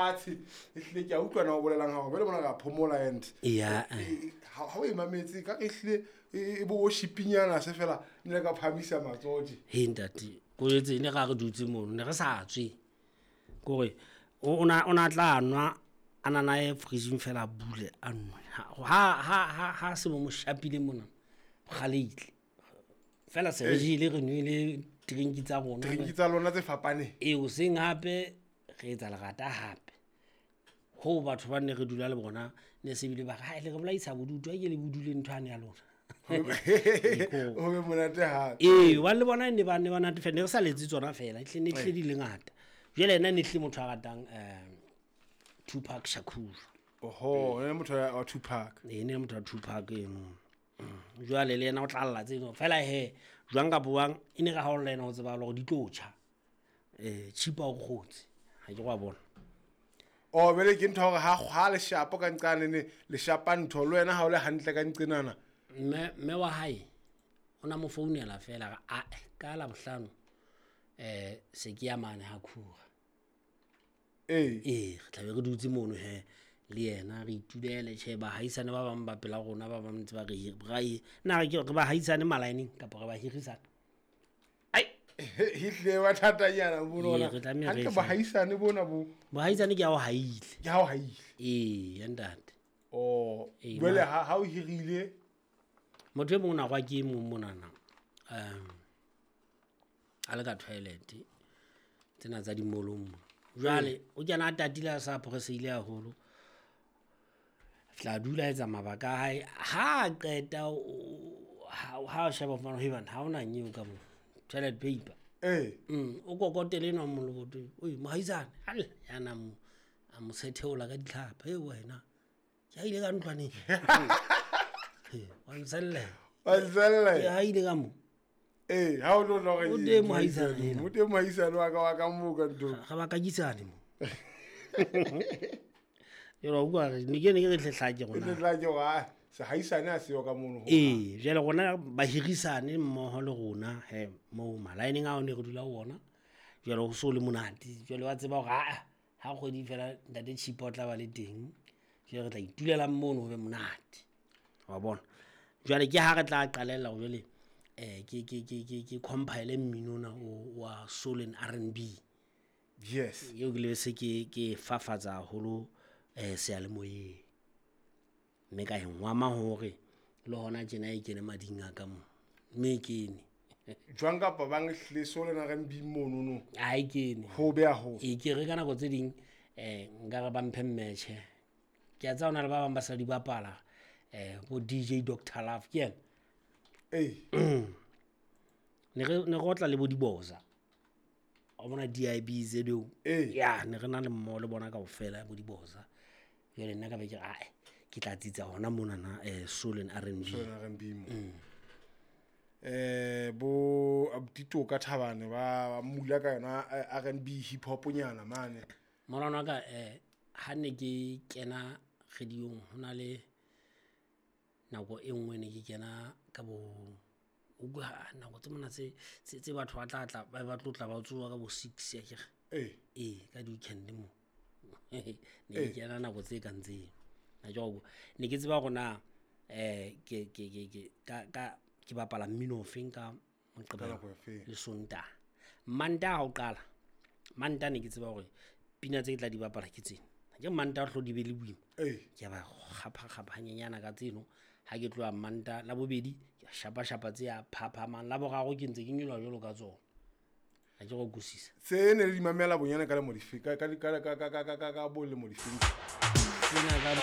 Fatshe ehlile ke a utlwa na o bolelang hao jwale mona re a phomola and ya. Ha o e mametse ka re ehlile e bo worship-nyana se fela ne le ka phahamisa matsoho tje. He ntate, ko jwetse ne ra re dutse mono, ne re sa tswe. Kore o na tla nwa a nana ye fridge fela a bule a nwe. Ha se mo shapile mona, kgale fela se re jele re nwele drink tsa rona. Drink tsa lona tse fapaneng. E hoseng hape re etsa lerata hape. Ho batho ba ne re dula le bona ne se bile ba re, "Hai le re bolaisa bodutu, ha ke le bodule ntho ane ya lona." Ho be monate hape. Ee, hobane le bona ne ba natefela, ne re sa letse tsona fela, ehlile ne hlile di le ngata. Jwale yena ne hlile motho a ratang Tupac Shakur. Oho, ene motho wa Tupac. E ne motho wa Tupac eno. Jwale le yena o tla lla tseno fela he jwang kapa jwang e ne re ha o lla yena ho tseba hore di tlo tjha. Chipa o kgotse. Ha ke wa bona. Oh, bele ke ntho hore ha leshapo ka nqane ne leshapa ntho le wena ha o le hantle ka nqenana. Mme wa hae o na mo founela fela a ka la bohlano se ke ya mane ha khura. Ee. Ee, re tla be re dutse mono he le yena re itulele tjhe bahaisane ba bang ba pela rona ba bang ntse ba re na re ba haisane malaeneng kapa re ba hirisana. Ai, hihle wa thatanyana bona. Hantle bahaisane bona bo. Bahaisane ke ha o haile. Ke ha o haile. Ee, ntate. Oh, jwale ha o hirile motho e mong na gwa ke mong monana. A le ka toilet tsena tsa dimolong mo. Jwale o kena a tatile a sa phoreseile haholo. Tla dula etsa mabaka a hae ha qeta ha sheba fana he bana ha ona nyeo ka mo toilet paper. O kokotele enwa mo leboto. Oi mohaisane, halla yana mo a mo setheola ka ditlhapa. He wena ke ha ile ka ntlwaneng. Wa nsella. Wa nsella. Ke ha ile ka mo. Eh, ha o lo re o teng mohaisane. O teng mohaisane wa ka mo ka ntho. Ga ba kakisane mo. Jwale o bua ne ke re tlehla ke rona. Tlehla ke wa se haisane a seyo ka mono. Ee, jwale rona ba hirisane mmoho le rona he mo malaeneng ao ne re dula ho ona. Jwale ho so le monate. Jwale wa tseba hore ha kgwedi fela ntate Chipa o tla ba le teng. Jwale re tla itulela mono ho be monate. Wa bona. Jwale ke ha re tla qalella hore jwale ke compile mmino ona wa soul and R&B. Yes. Eo ke le se ke fafatsa haholo seyalemoyeng. Mme ka e ngwama hore le hona tjena e kene mading a ka mo. Mme e kene. Jwang kapa bang hlile soul and R&B mono no. Ha e kene. Ho be haholo. E ke re ka nako tse ding nka re ba mphe mmetjhe. Ke a tseba hona le ba bang ba sa di bapala bo DJ Dr Love ke yena. Ee. Ne re otla le bo Diboza. O bona DIB zeo. Ya ne re na le mmoho le bona kaofela bo Diboza. Jwale nna ka be ke re ae ke tla tsitsa hona mona na soul and R&B. Soul and R&B mo. Bo Abdito ka Thabane ba mula ka yona R&B hip hop nyana mane. Morana wa ka ha ne ke kena radiong hona le nako e nngwe ne ke kena ka bo nako tse mona tse batho ba tla tla ba tlotla ba tsoa ka bo 6 ya kere. Ee, ka di weekend mo. Ne ke kena nako tse kang tseo. Na jwalo ne ke tseba hore na ke bapala mmino ofeng ka Moqebelo le Sontaha. Mantaha ha o qala, Mantaha ne ke tseba hore pina tse ke tla di bapala ke tsena. Ke Mantaha hlo di be le boima. Ke ba kgapha hanyenyana ka tseno. Ha ke tloha Mantaha la bobedi ke shapa shapa tse ya phaphamang, la boraro ke ntse ke nyoloha jwalo ka tsona. Ha ke go kusisa. Se ne le di mamela bonyane ka le modifi ka ka ka ka ka ka ka ka bo le modifi. Tsena ka